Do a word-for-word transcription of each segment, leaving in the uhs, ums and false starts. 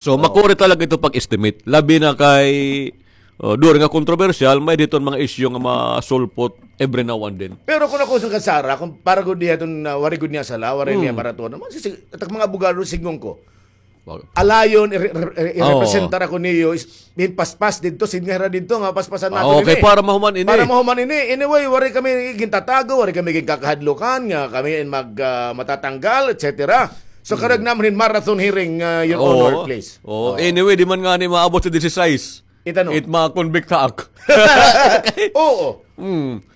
So, makuri talaga ito pag-estimate. Labi na kay, uh, during nga kontrobersyal, may diton mga issue nga masulpot every now and then. Pero kun ako sa kasara, kun para gud diha iton, ah, waray gud niya sala, waray niya barato. Naman, si, si, at mga abogado, signgon ko. Alayon, i-, i-, i-, irepresentar ako niyo, is, hin paspas didto, sin nga hira didto, nga paspasan naton ini. Para mahuman ini. Para mahuman ini. Anyway, waray kami gintatago, waray kami ginkakahadlukan, nga kami in mag, ah, matatanggal, et cetera. So, karuyag naman hin marathon hearing, ah, Your Honor, please. Oo. Anyway, di man ngani maabot sa disisais. It ano? It ma-convict ha ak. Oo.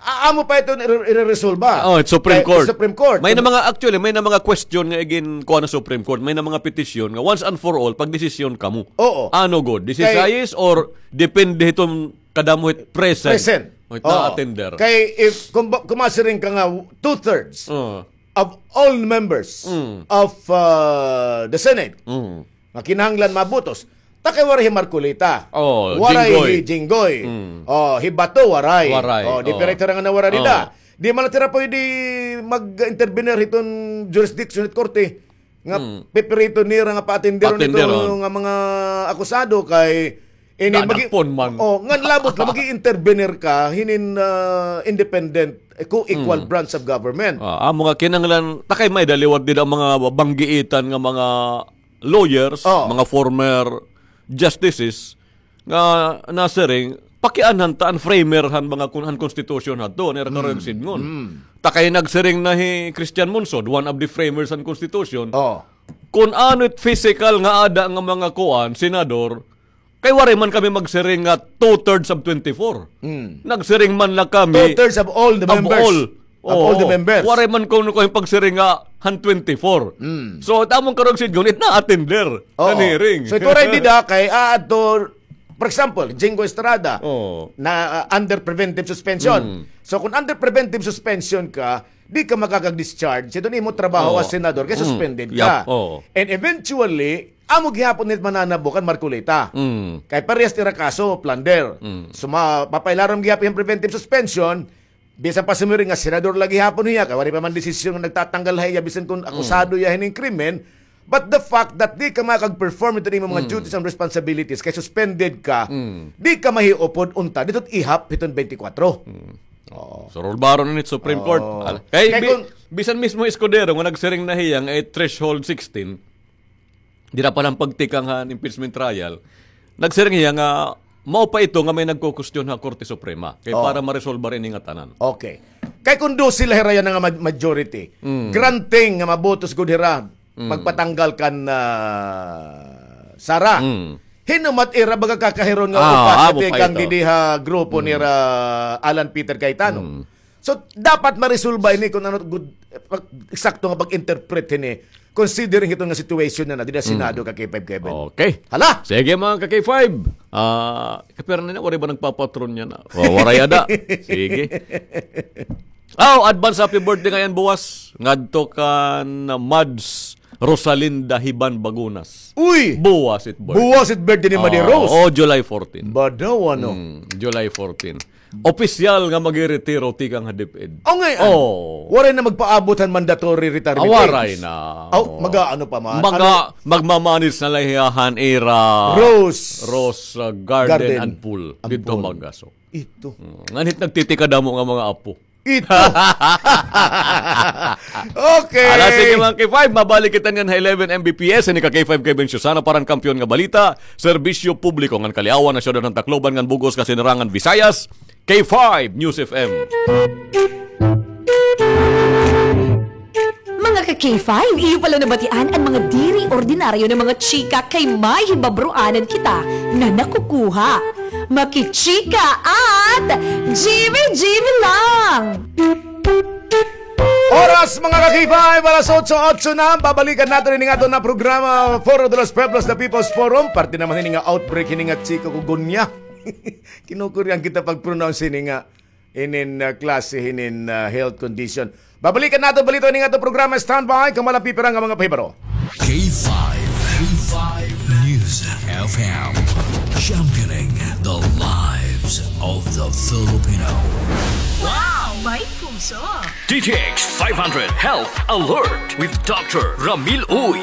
A-, amo pa ito ire-, ireresolba. Oh, it's Supreme Court. Supreme Court. May na mga, actually, may na mga question nga igin kuha na Supreme Court. May na mga petition nga once and for all, pagdesisyon kamo. Oo. Ano gud? Disisais or depende hiton kadamo hit present? Present. It na-attender. Kay if, kung, kung masiring ka nga two-thirds of all members of, uh, the Senate, nga kinahanglan mabutos. Ta kay waray hi Marcoleta. Oh, waray hi Jinggoy. Oh, hi Bato, waray. Waray, oh, di pira hira nga nawara dida. Di man la hira pwede mag-intervenir hiton jurisdiction hit korte. Nga pipirito nira nga paatenderon ito nga mga akusado kay ini magi-, oh, nga labot la, magi-intervenir ka hinin, ah, independent, eh, co-equal branch of government. Ah, amo nga kinahanglan, ta kay may-ada liwat dida mga banggiitan nga mga lawyers, mga former justices, nga nasiring, pakianhan ta an framer han mga kun-, han constitution hadto, nira karuyag sidngon. Ta kay nagsiring na hi Christian Monsod, one of the framers han constitution, kun ano it physical nga ada nga mga kuan, senador, kay waray man kami magsiring nga two-thirds of twenty-four. Nagsiring man la kami two-thirds of all the members. Of all the members. Waray man kuno kami pagsiring nga han twenty-four. So, it amon karuyag sidngon, it na-attender han hearing. So, it waray dida kay, ah, adto, for example, Jinggoy Estrada, na, ah, under preventive suspension. So, kung under preventive suspension ka, di ka makakag-discharge. Ito na imo trabaho as senador, kay suspended ka. And eventually, amo gihapon it mananabo kan Marcoleta. Kay parehas ira kaso, plunder. So, ma-, mapailarom gihapon hin preventive suspension, bisan pa sumiri nga senador la gihapon hiya, kay waray pa man desisyon nga nagtatanggal ha iya, bisan kun akusado hiya hinin krimen, but the fact that di ka makakag-perform hiton imo mga duties and responsibilities, kay suspended ka, di ka mahiupod unta didto ihap hiton twenty-four. Oo. So, rulbaron ini it Supreme Court. Kay bi-, bisan mismo Escudero nga nagsiring na hiya nga it threshold sixteen, dida pa la han pagtikang han impeachment trial, nagsiring hiya nga mao pa ito nga may nagkukwestiyon ha Korte Suprema. Kay para maresolbar ini nga tanan. Okay. Kay kun dose la hira yana nga ma-, majority, granting nga mabutos gud hira pagpatanggal kan, ah, Sara. Hin-o man it ira baga kakahiron nga upat nga tikang didi ha grupo nira Alan Peter Cayetano. So, dapat maresolba ini kun ano gud, pag-, eksakto nga pag-interpret hini, considering hiton nga situation na na, dida Senado, ka K five Kevin. Okay. Hala! Sige, mga ka K five. Ah, kapira na, waray ba nagpapatron yana? O, waray ada. Sige. Aw, advance happy birthday ngay-an buwas. Ngadto kan Mads Rosalinda Hiban Bagunas. Uy! Buwas it birthday. Buwas it birthday ni Madi Rose. Oh, July fourteen. Badaw, ano? Mm, July fourteen. Opisyal nga magiretiro tikang ha DepEd. Oh, ngay-an. Oh. Waray na magpaabot han mandatory retirement age. Ah, waray na. Aw, mag-aano pa man? Maga-, magmamanage na la hiya han ira Rose, Rose, uh, Garden and Pool. Didto Magaso. Ito. Mm, nganhi it nagtitikadamo nga mga apo. Ito. Okay. Ala, sige, mga K five, mabalik kita niyan ha eleven M B P S. Ini ka K five Kevin Susana para han Kampiyon nga Balita, Serbisyo Publiko ngan Kaliawan ha Syudad han Tacloban ngan bug-os nga Sinirangan Visayas, K five News F M. Mga ka K five, iyo pala nabatian an mga diri ordinaryo nga mga chika kay may hibabroanan kita nga nakukuha. Makichika at G B G B lang! Oras, mga ka K five, alas otso, otso na. Babalikan naton ini nga aton nga programa, Foro de los Pueblos, The People's Forum. Parte naman ini nga outbreak, ini nga chika kugunya. Kinukurian kita pag-pronounce ini nga inin, ah, klase hinin, ah, health condition. Babalikan naton balita ini nga aton programa. Standby, kamo la an pipira nga mga pahibaro. K five, K five News F M, championing the lives of the Filipino. Wow! May puso! D T X five hundred Health Alert with Doctor Ramil Uy.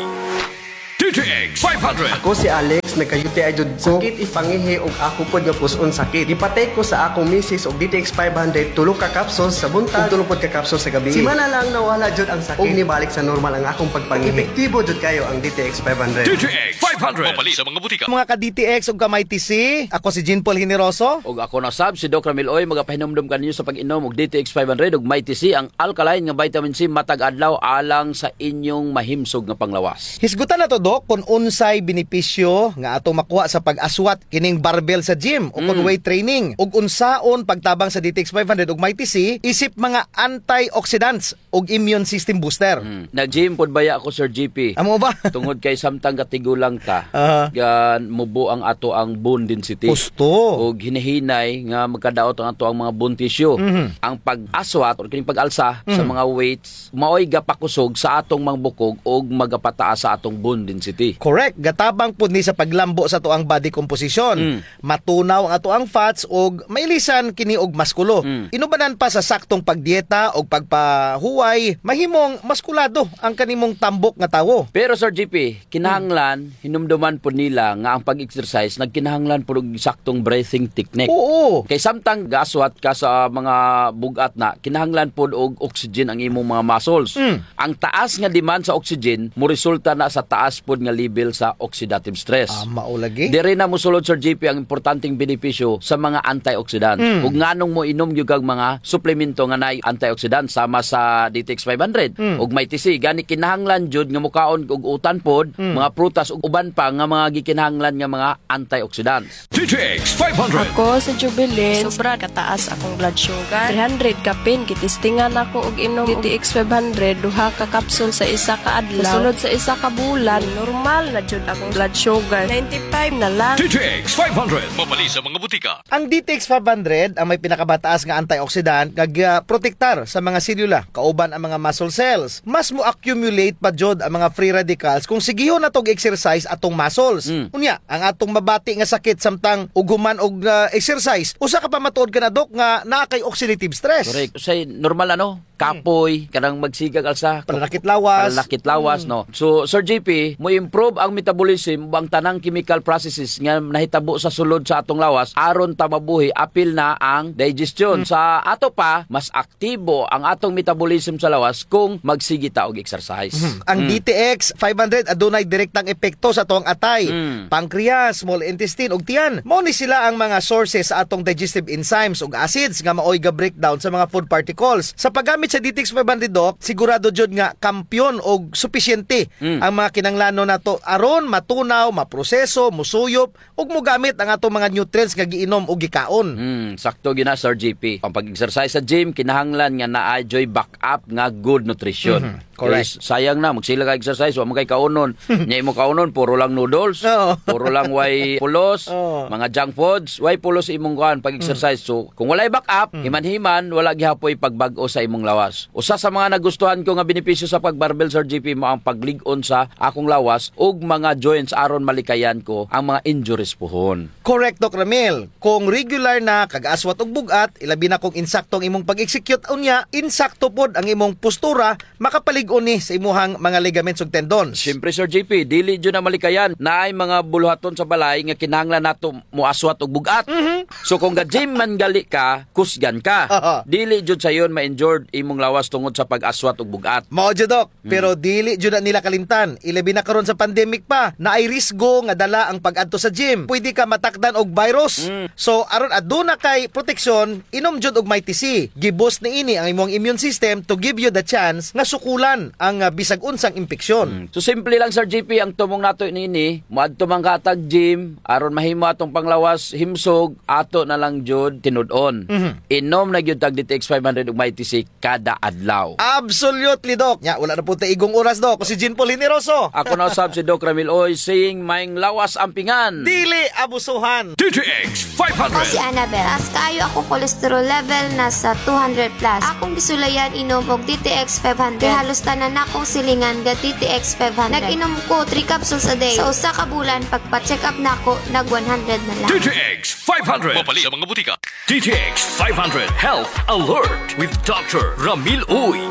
D D T X five hundred. Ako si Alex, nagka-U T I jud ko. Sakit it pangihi ug ako pod nga pus-on sakit. Gipatay ko sa akong misis og D T X five hundred, tulo ka capsules sa buntag ug tulo pod ka capsules sa gabii. Simana lang nawala jud ang sakit ug nibalik sa normal ang akong pagpangihi. Epektibo jud kayo ang D T X five hundred. D T X five hundred. Mapalit sa mga butika. Mga ka-D T X ug ka-Mighty C, ako si Jean Paul Generoso. Ug ako na sab, si Doc Ramil Oy, magapahinumdom kaninyo sa pag-inom og D T X five hundred ug Mighty C, ang alkaline nga vitamin C matag adlaw alang sa inyong mahimsog nga panglawas. Hisgutan nato, Doc, kun unsay benepisyo nga atong makuha sa pag-aswat kining barbell sa gym o kun weight training, ug unsaon pagtabang sa D T X five hundred ug Mighty C isip mga antioxidants ug immune system booster. Nag-gym pod baya ako, Sir G P. Amo ba? Tungod kay samtang gatigulang ta, Aha. gan mubo ang ato ang bone density. Husto. Ug hinahinay nga magkadaot ang ato ang mga bone tissue. Mhm. Ang pag-aswat or kining pag-alsa sa Mhm. mga weights, maoy gapakusog sa atong mga bukog ug magapataas sa atong bone density. Correct. Gatabang pud ni sa paglambo sa ato ang body composition. Mm. Matunaw ang ato ang fats ug mailisan kini og maskulo. Mm. Inubanan pa sa saktong pagdieta ug pagpahuway, mahimong maskulado ang kanimong tambok nga tawo. Pero, Sir G P, kinahanglan, hinumduman pod nila nga ang pag-exercise nagkinahanglan pod og saktong breathing technique. Oo. Kay samtang gaswat ka sa mga bug-at na, kinahanglan pod og oxygen ang imong mga muscles. Mm. Ang taas nga demand sa oxygen, moresulta na sa taas pod nga level sa oxidative stress. Ah, mao lagi. Dire na mosulod, Sir G P, ang importanteng benepisyo sa mga antioxidant. Mm. Ug nganong moinom gyud kag mga suplemento nga naay antioxidant, sama sa D T X five hundred Mm. ug Mighty C. Gani kinahanglan jud nga mokaon og utan pod, Mm. mga prutas ug uban pa nga mga gikinahanglan nga mga antioxidants. D T X five hundred. Ako si Jubilin. Sobra kataas akong blood sugar. Three hundred kapin, gitistingan ako og inom D T X five hundred, duha ka capsule sa isa ka adlaw. Sulod sa isa ka bulan, normal na jud akong blood sugar. Ninety-five na lang. D T X five hundred. Mapalit sa mga butika. Ang D T X five hundred ang may pinakamataas nga antioxidant nga gaprotektar sa mga selula, kauban ang mga muscle cells. Mas mo-accumulate pa jud ang mga free radicals kung sigihon nato og exercise atong muscles. Mm. Unya, ang atong mabati nga sakit samtang ug human og, ah, exercise, usa ka pamatuod kana, Doc, nga naa kay oxidative stress. Correct. Usahay normal, ano? Kapoy, kanang magsigeg alsa. Pananakit lawas. Pananakit lawas, Mm. no? So, Sir G P, mo-improve ang metabolism ug ang tanang chemical processes nga nahitabo sa sulod sa atong lawas aron ta mabuhi, apil na ang digestion. Mm. Sa ato pa, mas aktibo ang atong metabolism sa lawas kung magsige ta og exercise. Mhm. Ang Mm. D T X five hundred adunay direktang epekto sa atong atay, Mm. pancreas, small intestine, ug tiyan. Mao ni sila ang mga sources sa atong digestive enzymes ug acids nga maoy ga-breakdown sa mga food particles. Sa paggamit sa D T X five hundred, Doc, sigurado jud nga kampiyon og supisyente Mm. ang mga kinahanglanon nato aron matunaw, maproseso, musuyop, ug mogamit ang atong mga nutrients nga giinom o gikaon. Hmm, sakto gyud na, Sir G P. Ang pag-exercise sa gym, kinahanglan nga naa juy backup nga good nutrition. Mhm, correct. Kay sayang na, magsige ka exercise, wa man kay kaunon. Nya imo kaunon, puro lang noodles, Oo. puro lang way pulos, Oo. mga junk foods, way pulos imong kuan pag-exercise. Mm. So, kung walay backup, Mm. himan-himan, wala gihapoy pagbag-o sa imong lawas. Usa sa mga nagustuhan ko nga benepisyo sa pag-barbell, Sir G P, mao ang paglig-on sa akong lawas ug mga joints aron malikayan ko ang mga injuries puhon. Correct, Doc Ramil. Kung regular na kag aswat og bug-at, ilabi na kung insakto ang imong pag-execute, unya, insakto pod ang imong postura, makapalig-on ni sa imuhang mga ligaments ug tendons. Siyempre, Sir G P, dili jud na malikayan. Naay mga buluhaton sa balay nga kinahanglan nato moaswat og bug-at. Mhm. So, kung ga-gym man gali ka, kusgan ka. Aha. Dili jud sayon ma-injured imong lawas tungod sa pag-aswat og bug-at. Mao jud, Doc. Mm. Pero dili jud na nila kalimtan. Ilabi na karon sa pandemic pa, naay risgo nga dala ang pag-adto sa gym. Pwede ka matakdan og virus. Mm. So, aron aduna kay proteksyon, inom jud og Mighty C. Gi-boost niini ang imong immune system to give you the chance nga sukulan ang, ah, bisag unsang impeksyon. Mm. So, simple lang, Sir G P, ang tumong nato niini, moadto man ka hatag gym, aron mahimo atong panglawas, himsog, ato na lang jud tinud-on. Mhm. Inom na gyud tag D T X five hundred ug Mighty C kada adlaw. Absolutely, Doc. Nya, wala na pod tay igong oras, Doc. Ako si Jean Paul Generoso. Ako na usab si Doc Ramil Oy, saying, maayong lawas ampingan. Dili abusuhan. D T X five hundred. Ako si Annabel. Taas kaayo akong cholesterol level, nasa two hundred plus. Akong gisulayan inom og D T X five hundred. Kay halos tanan nakong silingan ga D T X five hundred. Nag-inom ko three capsules a day. Sa usa ka bulan, pagpa-check up nako, nag one hundred na lang. D T X five hundred. Mapalit sa mga butika. D T X five hundred Health Alert with Doctor Ramil Uy.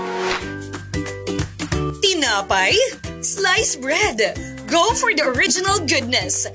Tinapay, sliced bread, Go for the original goodness.